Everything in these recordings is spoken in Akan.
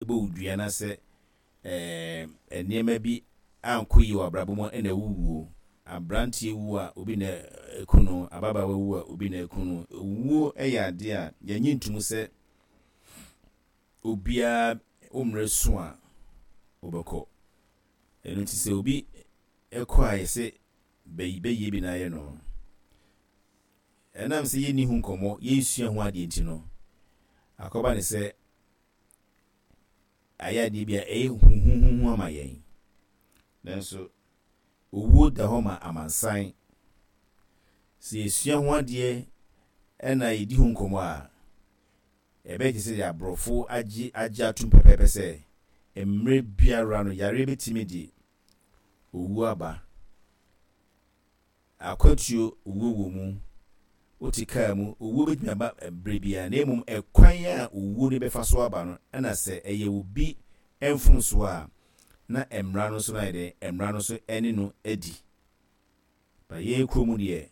Bɔ wo dua na sɛ ɛɛ nneɛma bi ankɔ yie wɔ abrabɔ mu a ɛna wowuo. Abranteɛ wu a obi na ɛku no, ababaawa wu a obi na ɛku no. Owuo yɛ adeɛ a yɛnnye ntom sɛ obiara wo mmerɛ so a wobɛkɔ. Ɛno nti sɛ obi kɔ a yɛsɛ bɛyie bi na ayɛ no. Ɛnam sɛ yɛnni ho nkɔmmɔ, yɛnsua ho adeɛ nti no, akɔba ne sɛ ayɛ adeɛ bi a ɛyɛ huhuhuhu ama yɛn. Nanso, owuo da hɔ ma amansan. Sɛ yɛsua ho adeɛ na yɛdi ho nkɔmmɔ a, ɛbɛyɛ te sɛ deɛ aborɔfo agye agye atom pɛpɛɛpɛ sɛ mmerɛ biara no yareɛ bɛtumi de owuo aba. Akwantuo, owuo wɔ mu. Wote kaa mu, owuo bɛtumi aba berɛ biara, na mmom ɛkwan a owuo no bɛfa so aba no, ɛna sɛ ɛyɛ obi mfomsoɔ a, na mmara no nso no ayɛ dɛn? Mmara no nso ne no adi. But yɛn kuro mu deɛ,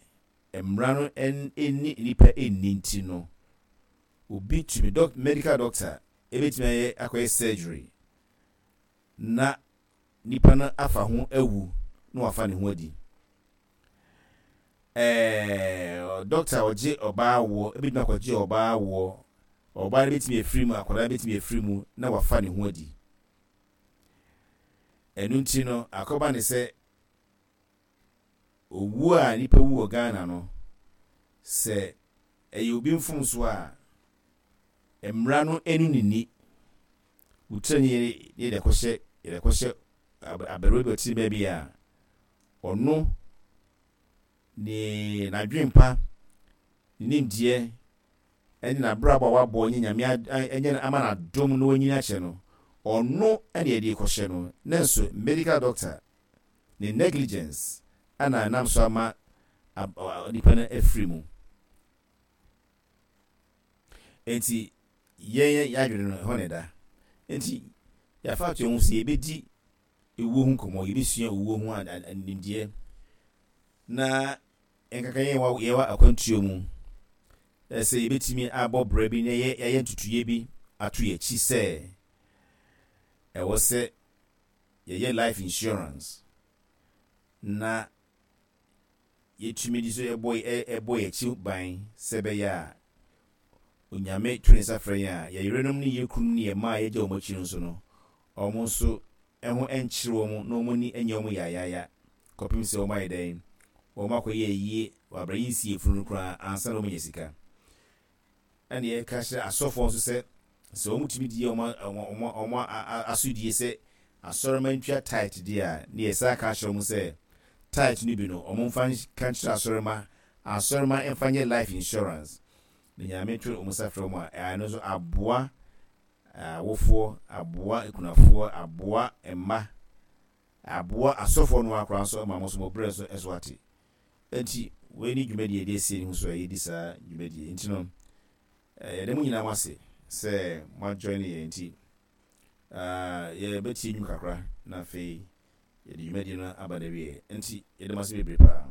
mmara no nni nnipa nni nti no, obi tumi, doc, medical doctor ɛbɛtumi ayɛ akɔyɛ surgery na nipa no afa ho awu na wafa ne ho adi. Ɛɛ dɔkta a ɔgye ɔbaa awoɔ ebetumi akɔgye ɔbaa awoɔ, ɔbaa no betumi afiri mu, akwadaa no betumi afiri mu na wafa ne ho adi. Ɛno nti no, akɔba ne sɛ owuo a nipa wu wɔ Ghana no, sɛ ɛyɛ obi mfomsoɔ a, Mmara no ɛnu ne ni. Wo tiri ne yɛde akɔhyɛ yɛde akɔhyɛ aberewa bi ɔte baabi a ɔno ne n'adwempa ne nimdeɛ ɛne n'abrabɔ a wabɔ nye nyame ɛnyɛ ama n'adom na wanyini akyɛ no ɔno ɛne yɛde kɔhyɛ no nanso medical doctor ne negligence ɛna ɛnam so ama nipa no afiri mu. Enti yɛn yɛn adwene no, ɛhɔ na ɛda. Enti yɛafa ato yɛn ho sɛ yɛbɛdi ewuo ho nkɔmmɔ, yɛbɛsua owuo ho nimdeɛ, na nkaka yɛn wɔ yɛwɔ akwantuo mu, sɛ yɛbɛtumi abɔ brɛ bi na yɛayɛ ntutuiɛ bi ato yɛn akyi sɛ ɛwɔ sɛ yɛyɛ life insurance na yɛtumi de so bɔ bɔ yɛn akyi ban sɛ ɛbɛyɛ a Onyame to ne nsa frɛ yɛn a, yɛn yerenom ne yɛn kununom ne yɛn mma a yɛagya wɔn akyi no nso no, wɔn nso ho nkyere wɔn na wɔn ani nyɛ wɔn yayaaya kɔpem sɛ wɔn ayɛ dɛn? Wɔn akɔyɛ ayie wɔ abrɛ yɛnsi yɛn funu no koraa ansa na wɔanya sika. Ɛna yɛka kyerɛ asɔfoɔ nso sɛ, sɛ wɔtumi di wɔn wɔn asodie sɛ asɔremma ntua tithe deɛ a, ne yɛsan ka kyerɛ wɔn sɛ tithe no bi no wɔmfa nka nkyerɛ asɔremma, asɔremma mfa nyɛ life insurance. Na Nyame to wɔn nsa frɛ wɔn a, ɛno nso aboa awofoɔ, aboa akunafoɔ, aboa mma, aboa asɔfoɔ no ara koraa nso ma wɔn nso wɔn brɛ nso so ate. Enti, wei ne dwumadie a yɛde asie ne ho so a yɛdi saa dwumadie. Nti no, yɛda mo nyinaa mo ase sɛ mo ajoine yɛn nti, yɛbɛtie nnwom kakra na afei yɛde dwumadie no aba n'awieɛ. Nti, yɛda mo ase bebree paa.